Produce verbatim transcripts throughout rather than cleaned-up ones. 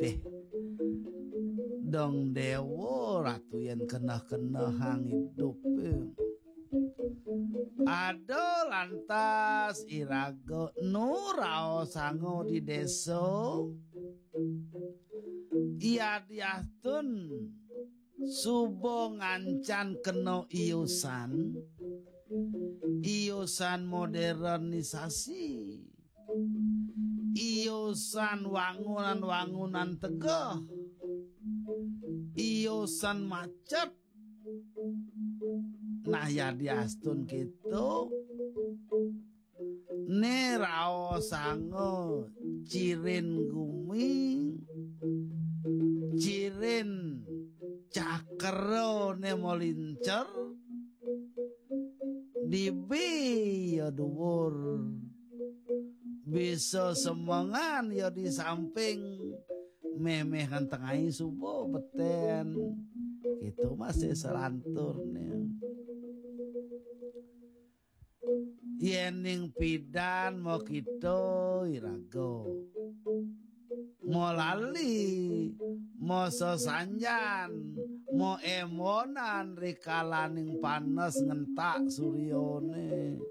Eh, dong dewa ratu yen keneh-kenehang idup. Ada lantas iraga nu raosanga di desa. Iya diastun suba ngancan kena iusan, iusan modernisasi, iusan wangunan-wangunan tegeh, iusan macet. Nah, ya diastun gitu, ne raosanga cirin gumi, cirin cakrane molincer, dibi ya duwur. Bisa semengan ya di samping, memeh kan tengai suba beten. Gitu masih selanturne. Yening pidan mo kita iraga, mo lali, mo sesanjan, mo emonan rikalaning panes ngentak suryane,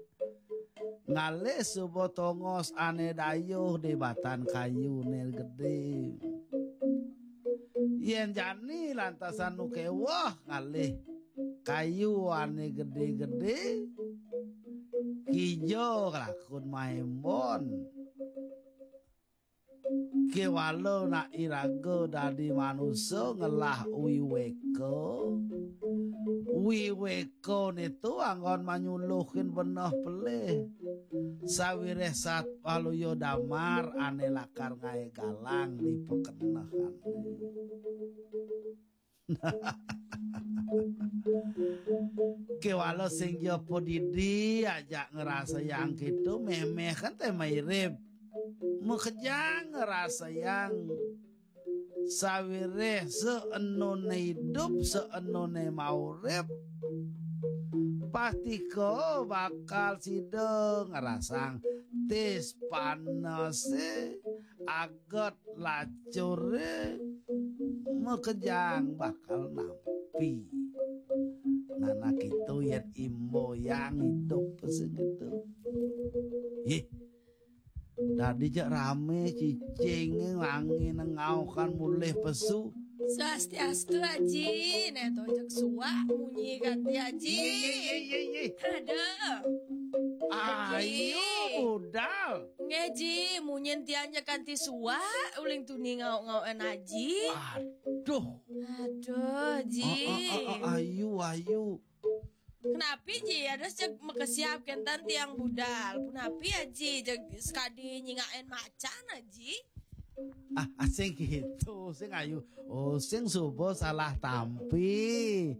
ngalih suba tongos ane dayuh di batan kayune gedhe. Yen jani lantasan nu keweh ngalih kayu ane gedhe-gedhe, kija kelakun maembon. Kewala nak iraga dadi manusa ngelah wiweka. Wiweka nitu anggon manyuluhin beneh pelih. Sawireh sat waluya damar ane lakar ngae galang di pekenehan. Kewala sing ja padidi ajak ngrasayang kitu, memeh kan te mairip. Makejang ngrasayang sawireh seenone idup, seenone maurip. Pastika bakal sida ngrasang tis panese, aget lacure, makejang bakal nampi. Nah, nah, kitu yen imboyang idup sing kitu. Yeh, dadi cek rame cicinge wangi nengaokan mulih pesu. Swastiastu, Aji. Nek to cek suwak munyi kanti, Aji. Ye, ye, ye, ye, ye. Aduh. Ayo, Aji. Budal. Nggih, Ji, munyin tiang cek kanti suwak, uling tuni ngauk-ngauken Aji. Aduh. Aduh, Ji. Oh, oh, oh, oh, ayu, ayu. Kenapi, Ji? Ada cek makesiab kenten tiang budal. Punapi, Aji? Cek sekadi nyingakin macan, Aji. Ah, ah, sing gitu, sing ayu. Oh, sing suba salah tampi.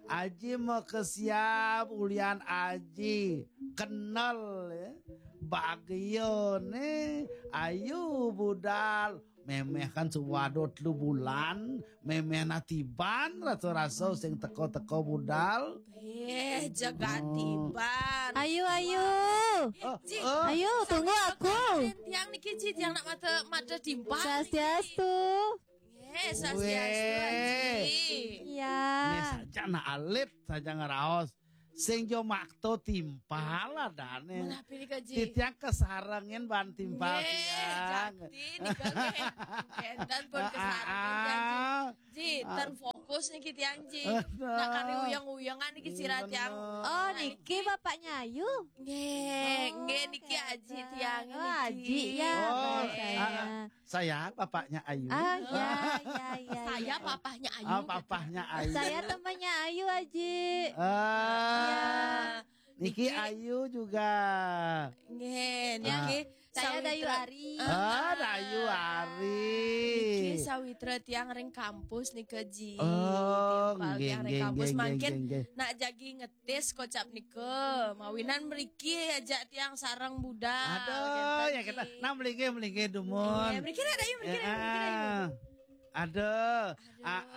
Aji makesiab ulian Aji kenel, ya. Bagiane ayu budal. Memeh kan suwada telu bulan, memeh na tiban rasa-rasa sing teka-teka budal. Eh, jagat tiban. Ayu, ayu. Oh, Ji, oh. Ayu, tunggu aku. Tiang niki, Ji, tiang nak mata, mata timpal niki. Swastiastu. Nggih, swastiastu, Aji. Iya. Ini saja nak alit saja ngeraos. Sing jo makto timpal adane. Menapi nika, Ji? Titiang kesarengin ban timpal. Nggih, tiang. Jakti nika nggih. Kenten pun kesarengin tiang, Ji. Ah, ah. Ji, ten fokus niki tiang, Ji. Aduh. Nak kari uyang-uyangan niki sira tiang. Oh, niki bapaknya Ayu? Nggih, oh, nggih niki Aji tiang niki. Oh, Aji ya, oh, baik. Ah, ah. Saya papahnya Ayu. Ah, ya, ya, ya, ya. Saya papahnya Ayu, ah, gitu. Papahnya Ayu. Saya temannya Ayu, Aji. Ah, ya. Niki Ayu juga. Nggih, niki saya Dayu Ari. Ah, Dayu Ari. Niki sawitra tiang ring kampus nika, Ji. Oh, timpal nggih, tiang ring kampus. Nggih, mangkin nggih, nggih. Nak jagi nget- tis kocap nika, mawinan mriki ajak tiang sareng budal. Aduh, kenten ya kita. Nah, melinggih, melinggih dumun. Iya, mriki nek, Dayu, mriki nek, mriki nek. Aduh. Aduh. A-,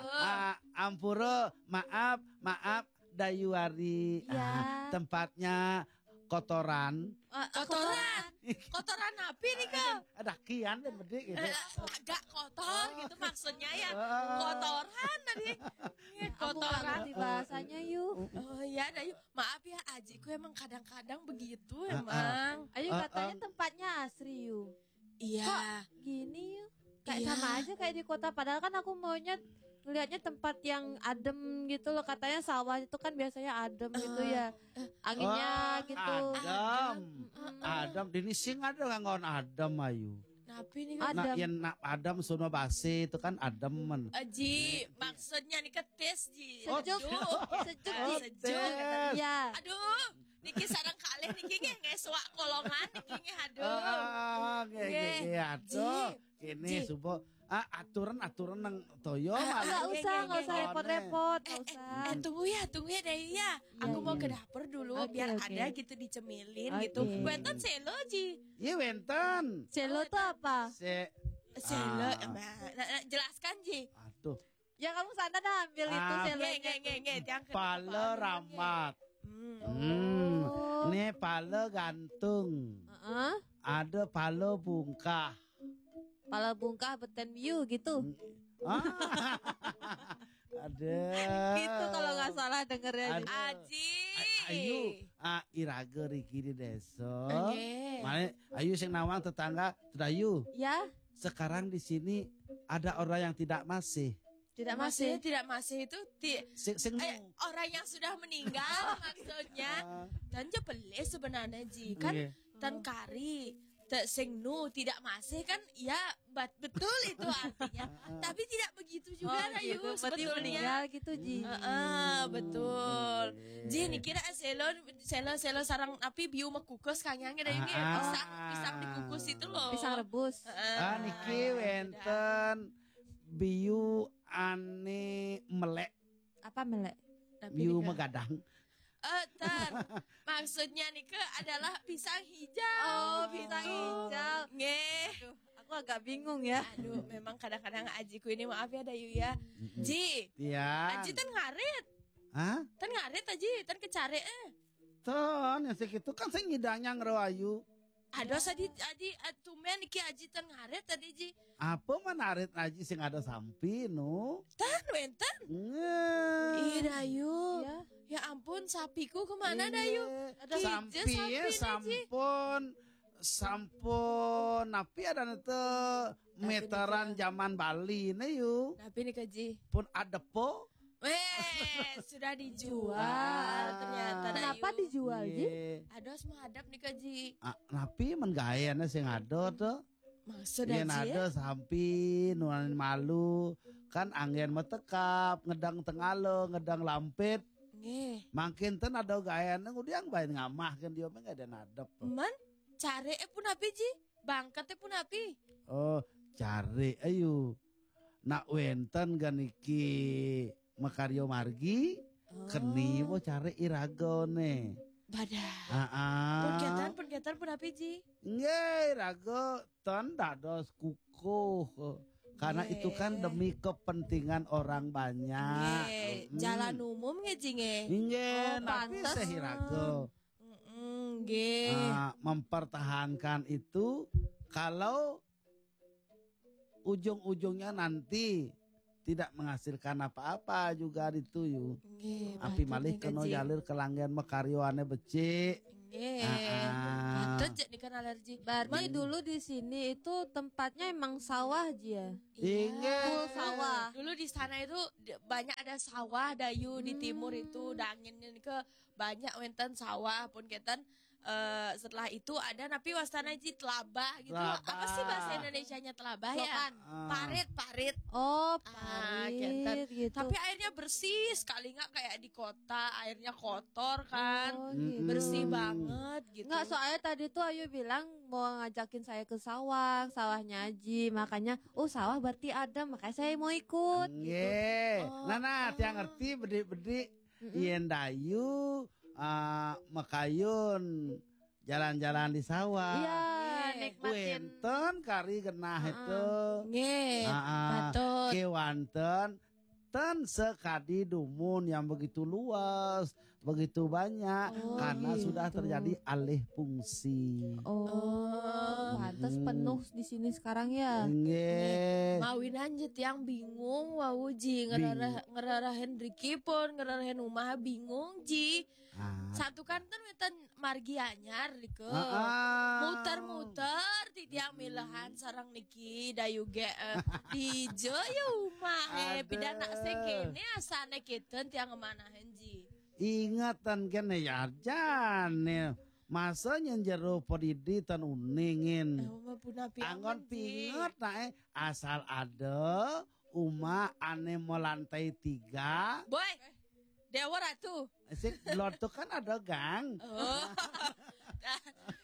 a-, ampura, maaf, maaf, Dayu Ari. Ya. Ah, tempatnya kotoran. Eh, kotoran. Kotoran apa nih, Kak? Ada kian dan bedik gitu. Eh, agak kotor gitu maksudnya ya. Ah. Kotoran tadi. Aku nggak Kotoran. ngerti bahasanya, Yu. Oh iya, ada Yu. Maaf ya, ajiku emang kadang-kadang begitu Ah, ah. emang. Ayu Ah, katanya ah. Tempatnya asri, Yu. Iya. Gini, Yu. Kayak Iya. Sama aja kayak di kota. Padahal kan aku maunya ngelihatnya tempat yang adem gitu loh. Katanya sawah itu kan biasanya adem gitu ya. Anginnya Wah, gitu. Adem. Adem. Di sini sing ada nganggon adem, Ayu. Napi nih? Adem. Nah, yang nak adem sono basi itu kan adem men. Aji, maksudnya nih ketis ji. Sejuk. Sejuk. Sejuk, Ah, Ji. sejuk. Tes. Iya. Aduh, niki sarang kalih niki nggih nggih suak kolongan niki nggih, aduh. Ah, nggih, nggih, Nggih. nggih, aduh. Ji. Kini Ji. Subo, ah, aturan-aturan nang toyo Ah, malah. Nggak Oke, usah, oke, nggak usah oke. repot-repot, Eh, nggak eh, usah. eh, tunggu ya, tunggu ya, Dayu ya. Aku Iya, mau iya. ke dapur dulu Oke, biar oke. Ada gitu dicemilin gitu. Oke. Wénten selo ji. Iya wénten. Selo tuh apa? Se Selo, Ah. nah, nah, nah, jelaskan ji. Aduh. Ya kamu sana dah ambil itu Ah. selonya. Nggih, nggih, nggih, nggih, tiang ke Pala depan. rambat. Hmm. Hmm. Oh. Ini pala gantung. Heeh. Ada pala bungkah. Pala bungkah beten biu gitu. Ah. Ada. Gitu kalau nggak salah dengernya. Ada. Aji. A- Ayu, ah, iraga riki di desa. Nggih. Mane Ayu sing nawang tetangga, Dayu. Ya, Sekarang di sini ada orang yang tidak masih. tidak Masih masih. tidak masih itu ti Sing sing eh, orang yang sudah meninggal maksudnya. Dan je pelih sebenarnya ji kan Iya. tan kari te sing nu tidak masih kan ya bat, betul itu artinya. Tapi tidak begitu juga Oh, Dayu gitu. Berarti sebetulnya. Meninggal gitu, Ji. Heeh, betul. Ji niki nak selo selo selo sarang napi biu mekukus kang yang ada ini Ah. pisang, pisang dikukus itu loh. Pisang rebus. Heeh. Ah, niki wénten biu ane melek, Apa melek? Napi biu nika? Megadang. Eh, tan. Maksudnya nika adalah pisang hijau. Oh, pisang hijau. Nggih. Aduh, aku agak bingung ya. Aduh, memang kadang-kadang ajiku ini maaf ya Dayu ya. Ji, Iya. Aji tan ngarit. Hah? Tan ngarit Aji, tan kecare eh. Ton, yang segitu kan sing ngidangnya ngero Ayu. Aduh, tadi Aji eh, tumben niki Aji tan ngarit tadi Ji. Apa menarik Aji sing ada sampi nu? Tan wénten. Nge. Ih, Dayu. Iya. Ya ampun, sapiku kemana Iya. Dayu? Sampi Kije ya, sapi, Ji. sampun. Sampun, napi ada nete meteran zaman Bali ne yu. Napi nih Ji? Pun adepo. Eh, sudah dijual ternyata Dayu. Kenapa dijual, Ji? Iya. Ados menghadap nih Ji. Ah, napi men gaene sing ada to. Maksud Yen Aji? ada sampi nuan malu kan anggen metekap ngedang tengalo ngedang lampit. Nggih. Mangkin ten ada gaene ngudiang bae ngamah kan dia mah ada nadep. Men, care eh pun api Ji? Bangket eh pun api? Oh, cari ayu. Nak wenten ganiki makaryo margi keni bo cari iragone. Badah. Aa. Pun ketan, pun ketan pun api Ji? Nggih, raga ten dados kukuh. Karena Nggih. Itu kan demi kepentingan orang banyak. Nggih, Mm-mm. Jalan umum nggih Ji nggih? Nggih, Oh, tapi pantes. Sehiraga Mm-mm, nggih. ah, mempertahankan itu kalau ujung-ujungnya nanti tidak menghasilkan apa-apa juga itu yu. Nggih, Api betul malih nih, kena Ji. Jalir kelanggian makaryoane becik. Nggih. Ah, ah. Patut je nih kan alergi. Berarti dulu di sini itu tempatnya emang sawah, Ji, ya? Inggih. Full sawah. Dulu di sana itu di- banyak ada sawah Dayu di timur itu, dangin ke banyak wenten sawah pun keten eh, setelah itu ada napi wastana Ji telabah gitu. Telabah. Apa sih bahasa Indonesianya telabah ya? Selokan. Ah. Parit, parit. Oh, Ah, parit gitu. gitu. Tapi airnya bersih sekali nggak kayak di kota, airnya kotor kan. Oh, gitu. Bersih Mm-mm. banget gitu. Enggak, soalnya tadi tuh Ayu bilang mau ngajakin saya ke sawah, sawahnya Aji. Makanya, oh, sawah berarti ada, makanya saya mau ikut. Nggih. Oh. Nah, nah, tiang ngerti bedik-bedik yen Dayu ah, makayun jalan-jalan di sawah. Iya, Nggih. nikmatin. Wenten kari genah itu. Nggih, Ah, ah. patut. Kewanten ten sekadi dumun yang begitu luas, begitu banyak. Oh, karena gitu. Sudah terjadi alih fungsi. Oh, pantas penuh di sini sekarang ya. Nggih. Mawinan je tiang bingung wau ji. Ngerarah-, ngerarahin riki pun, ngerarahin umah bingung ji. Ah. Satu kanten wénten margi anyar rika. Ah, ah. Muter-muter titiang milehan sareng niki dayu gé, eh, dija ya umah, eh, pidan nak sing kéné asané kéten tiang ngemanahin ji. Ingetan kéné ya jane. Masa nyén jero padidi tan uningin. Eh, mah punapi anggon aman, ji. Pinget nak, eh, asal ada umah ané melantai tiga. Boy. Dewa Ratu. Sik, Blodok kan ada gang. Oh.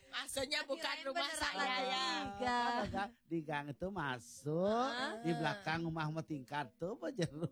Maksudnya bukan rumah saya ya. Tiga. Kan ada gang. Di gang itu masuk, di belakang rumah mau tingkat tuh, apa jero?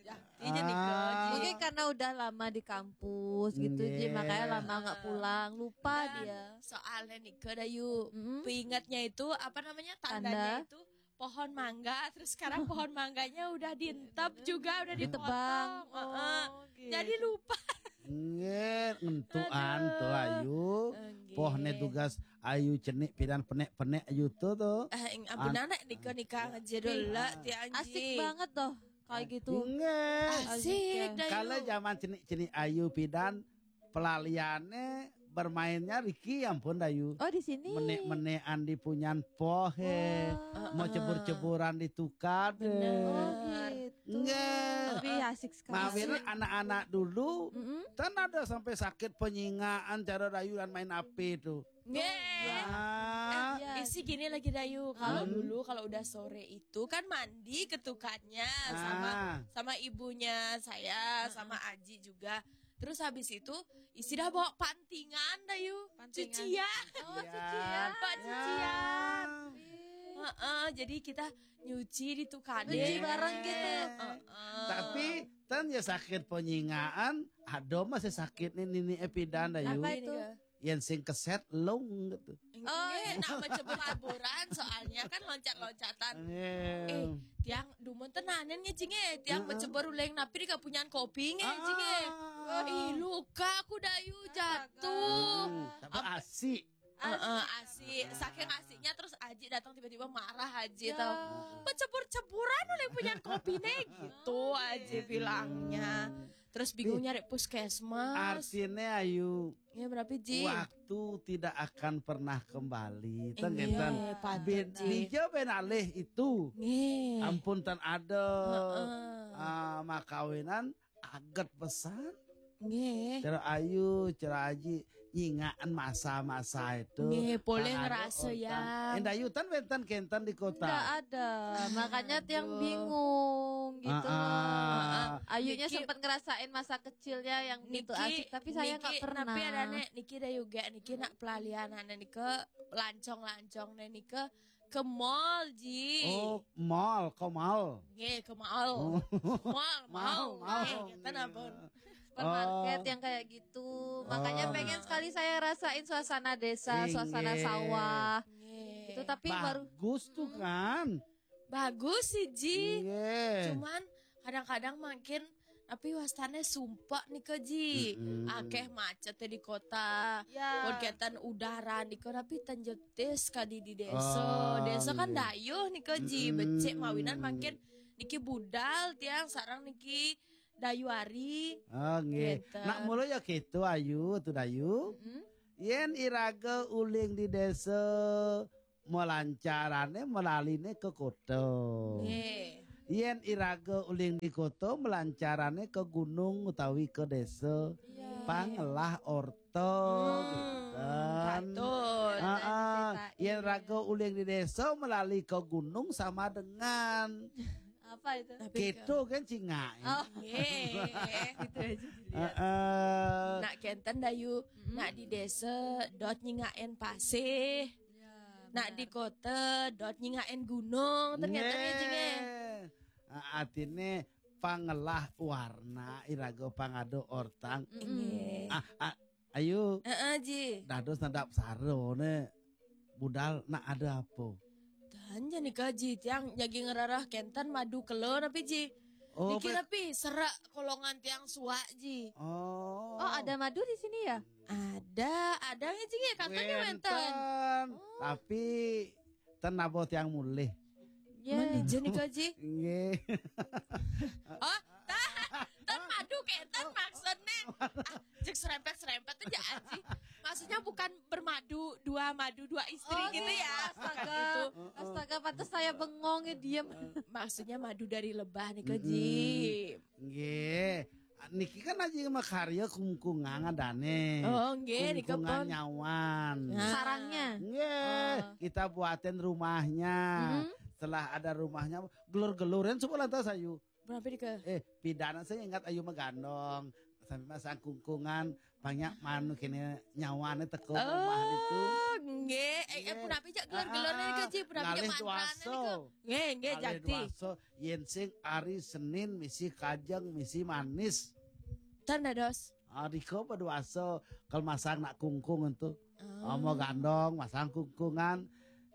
Ya, iya nih, Kak. Ah. Mungkin karena udah lama di kampus gitu, Ji, makanya lama nggak pulang, lupa dia. Dan soalnya nih, Kak Dayu, pengingatnya itu, apa namanya, tandanya itu pohon mangga, terus sekarang pohon mangganya udah dientep juga, udah ditebang. Heeh. Oh, gitu. Jadi lupa. Nggih, ngentuan tuh, Ayu. Nggih. Pohne tugas Ayu cenik pidan penek-penek Ayu tuh, tuh. Eh, ing-, ampun, anak nika-nika ngejero lah, tiang. Asik banget tuh, kayak gitu. Nggih. Asik, Dayu. Kalau zaman cenik-cenik Ayu pidan, pelaliane bermainnya Riki, ampun, Dayu. Oh, di sini. Menek-menekan di punyan pohe, mau cebur-ceburan di tukade. Oh, gitu. Nggih. Lebih asik sekali. Mawinan anak-anak dulu, kan ada sampai sakit penyingaan cara Dayu dan main api itu. Nggih. Ah. Eh, isi gini lagi, Dayu. Kalau dulu, kalau udah sore itu kan mandi ke tukadnya sama, sama ibunya saya, sama Aji juga. Terus habis itu, isi dah bawa pantingan, Dayu. Pantingan. Cucian. Oh, cucian. Bawa cucian. Heeh, jadi kita nyuci di tukade. Nyuci bareng gitu. Heeh. Tapi, tan ya sakit penyingaan, ada masih sakit nih, nini epidan, Dayu. Apa itu? Yang sing keset lung gitu. Oh, iya, nak mencebur-ceburan, soalnya kan loncat-loncatan. Iya. Eh, tiang dumun tenanan nge, Jing, eh. Tiang mencebur uling napi di kapunyan kopi nge, Jing, eh. Ah. Ih, luka aku, Dayu, jatuh. Hmm, tapi asik. Heeh, asik. Saking asiknya terus Aji datang tiba-tiba marah Aji tau. Mencebur-ceburan uling punyan kopi ne gitu Aji bilangnya. Terus bingung nyari puskesmas. Artinya, Ayu, ya, berapa, Ji? Waktu tidak akan pernah kembali. Ten, iya, ngeten. Patut, Ji. Dija ben alih itu. Nggih. Ampun, ten ada, ah, makawinan aget pesan. Nggih. Cara Ayu, cara Aji, nyingakan masa-masa itu. Nggih, boleh ngerasa ya. Endah Ayu, ten wenten kenten di kota. Nggak ada. Makanya tiang bingung gitu. Ah, ah. Ayunya sempat ngerasain masa kecilnya yang begitu asik, tapi saya nggak pernah. Tapi ada nek niki ada juga niki nak pelalian anak nike lancong-lancong nek nike ke mall, Ji. Oh, mall, ke mall. Nggih, ke mall. Oh. Mall, mall, mall. Nggih, kita napa? Supermarket yang kayak gitu. Makanya pengen sekali saya rasain suasana desa, suasana sawah. Nggih. Itu tapi baru bagus tuh kan. Bagus sih, Ji. Nggih. Cuman kadang-kadang makin tapi wastane sumpek nika, Ji. Akeh macet di kota. Ya. Pun keten udara nika, tapi tenjetis kadi di desa. Oh, desa kan dayuh nika, Ji. Becik mawinan makin niki budal tiang sarang niki dayu ari. Oh, nggih. Keten. Nak mula ya gitu, Ayu, tu dayu. Yen iraga uling di desa, melancarane melaline ke kota. Nggih. Yen iraga uling di kota, melancarane ke gunung utawi ke desa. Iya. Pangelah orta, gitu. Patut. Heeh. Yen raga uling di desa melali ke gunung sama dengan apa itu? Gitu kan cingak. Oh, nggih. Gitu aja dilihat. Heeh. Nak kenten dayu, nak di desa dot nyingakin pasih. Ya, nak di kota dot nyingakin gunung, ternyata ya, Jing, eh. Nggih. Ah, artine pangelah warna iraga pangado ortang. Nggih. Ah, ah, Ayu. Heeh, Ji. Dados nadap sarone budal nak ada apa? Dan jani ka, Ji, tiang jagi ngerarah kenten madu kelo napi, Ji? Oh, niki pe- lebih serak kolongan tiang suak ji. Oh. Oh, ada madu di sini ya? Ada, ada ya ji ya, katanya wenten. Wenten. Oh. Tapi ten nabo tiang mulih. Ya. Mandi je nika ji. Nggih. Oh, tan, tan madu kenten maksudnya. Ah, cek serempet-serempet aja aji. Maksudnya bukan bermadu, dua madu, dua istri. Oh, gitu ya. Astaga. Gitu. Astaga, pantas saya bengong ya, diem. Maksudnya madu dari lebah nih, Ko Ji. Mm-mm. Nggih. Niki kan aji makarya kungkungan adane. Oh, nggih, nika kungkungan pun. Nyawan. Nah. Sarangnya. Nggih, oh. Kita buatin rumahnya. Mm-hmm. Setelah ada rumahnya, gelur-gelurin semua lantas ayu. Berapa nika? Eh, pidana saya ingat ayu magandong. Sampai masang kungkungan, banyak manu kene nyawane teko rumah itu. Oh, nggih. Eh, eh, nggih. Punapi jak gelur-gelurnya nika, ah, ah. Ji, punapi jak ngalih mantrane duasa. Nika. Nggih, nggih, ngalih jakti. Duasa, yen sing ari Senin misi kajeng, misi manis. Ten dados. Ah, diko berduasa, kalau masang nak kungkung itu. Oh. Omo gandong, masang kungkungan.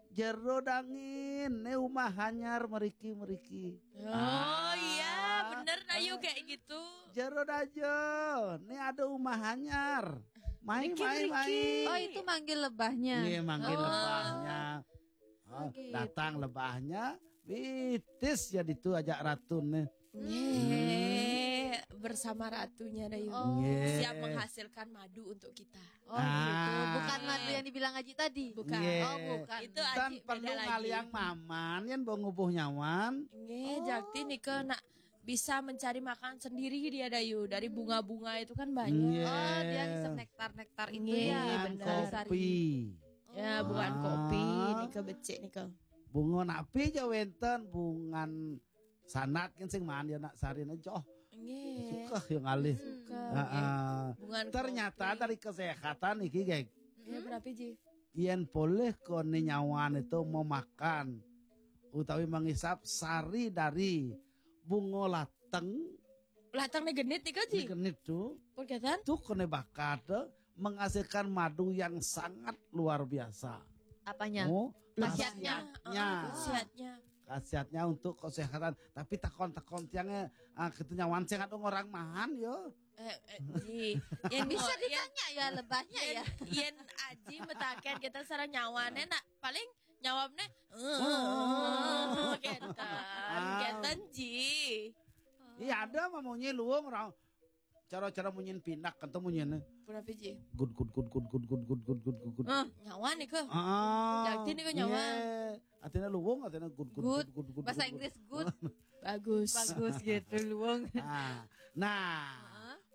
Jero dangin, ne umah anyar meriki-meriki. Oh, ah. Iya, bener, ayo kayak gitu. Jero dajo, ne ada umah anyar. Mai, meriki, mai, meriki. Mai. Oh, itu manggil lebahnya. Iya, manggil lebahnya. Oh. Oh, gitu. Datang lebahnya, bitis ya ditu ajak ratu ne. Nggih, bersama ratunya dayu. Oh. Nggih. Siap menghasilkan madu untuk kita. Oh, gitu. Ah. Bukan madu yang dibilang Aji tadi? Bukan. Nggih. Oh, bukan. Itu Aji beda lagi. Tan perlu ngaliang maman, yen mbok ngubuh nyawan. Nggih, oh. Jakti nika nak bisa mencari makan sendiri dia dayu. Dari bunga-bunga itu kan banyak. Nggih. Oh, dia ngisep nektar-nektar itu ya. Nggih, bener. Bunga kopi. Ya, bukan kopi, nika becik nika. Bunga napi ja wenten, bungan sanat kan sing maan ya nak sarine joh. Nggih. Suka ya ngalih. Suka. Heeh. Nggih. Bungan kopi. Ternyata dari kesehatan iki, geng. Ya, berapa ji? Yen polih kone nyawan itu memakan utawi mengisap sari dari bunga lateng. Lateng ne genit nika ji? Ne genit tu. Pun keten? Tu kone bakat, eh, menghasilkan madu yang sangat luar biasa. Apanya? Oh, khasiatnya. Khasiatnya. Oh, khasiatnya. Khasiatnya untuk kesehatan. Tapi takon-takon tiangnya, ah, kita nyawan sing ada orang mahan yo. Eh, eh, ji. Yen bisa ditanya ya lebahnya yen, ya. Yen Aji metaken kita sareng nyawane nak paling nyawabne, oh, kenten, ah. Kenten ji. Iya ada mah munyi luwung orang. Cara-cara munyin pinak kan tuh munyine. Berapa ji? Gud, gud, gud, gud. Ah, nyawa nih ke. Ah. Jakti nih ke nyawa. Iya. Artinya luwung, artinya gud, gud, gud, gud, gud, bahasa Inggris gud. Bagus. Bagus gitu, luwung. Ah. Nah,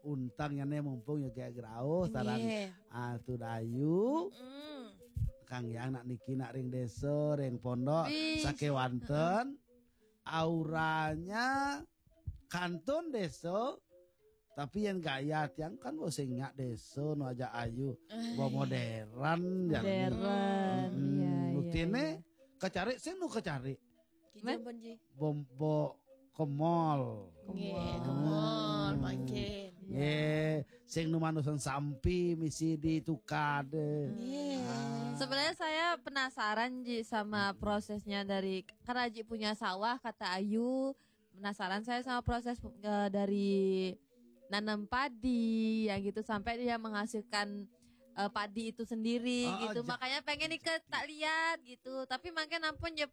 untangnya nih mumpung ya kayak gerauh, saran, ah, tu dayu. Mm. Kang Yang nak niki nak ring desa, ring pondok, sakewanten. Auranya kantun desa, tapi yang gaya tiang kan bosing nyak desa nu aja ayu, bo modern ya. Modern, iya, iya. Buktinya kecari sing nu kecari. Kijang pun ji. Bombo ke mall. Nggih, ke mall mangkin. Nggih, sing nu manusan sampi misi ditukade. Nggih. Sebenarnya saya penasaran ji sama prosesnya dari, karena Aji punya sawah kata Ayu, penasaran saya sama proses, eh, dari nanam padi yang gitu sampai dia menghasilkan, eh, padi itu sendiri gitu. Makanya pengen ikut tak lihat gitu. Tapi makin ampun ya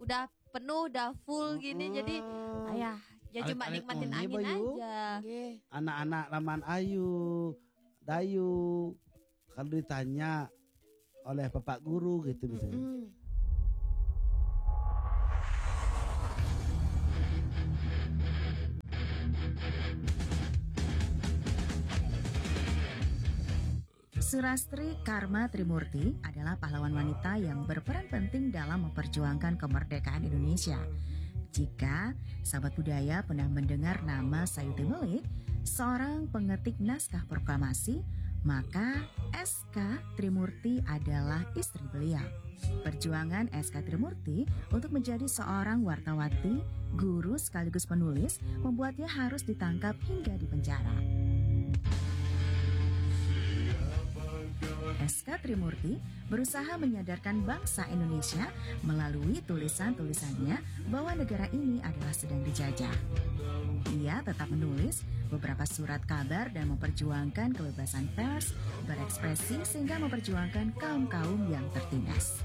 udah penuh, udah full gini. Jadi ayah ya cuma nikmatin angin aja. Nggih. Anak-anak laman ayu, dayu, kalau ditanya oleh bapak guru gitu misalnya. Surastri Karma Trimurti adalah pahlawan wanita yang berperan penting dalam memperjuangkan kemerdekaan Indonesia. Jika sahabat budaya pernah mendengar nama Sayuti Melik, seorang pengetik naskah proklamasi, maka S K Trimurti adalah istri beliau. Perjuangan S K Trimurti untuk menjadi seorang wartawati, guru sekaligus penulis membuatnya harus ditangkap hingga dipenjara. S K Trimurti berusaha menyadarkan bangsa Indonesia melalui tulisan-tulisannya bahwa negara ini adalah sedang dijajah. Ia tetap menulis beberapa surat kabar dan memperjuangkan kebebasan pers, berekspresi, sehingga memperjuangkan kaum-kaum yang tertindas.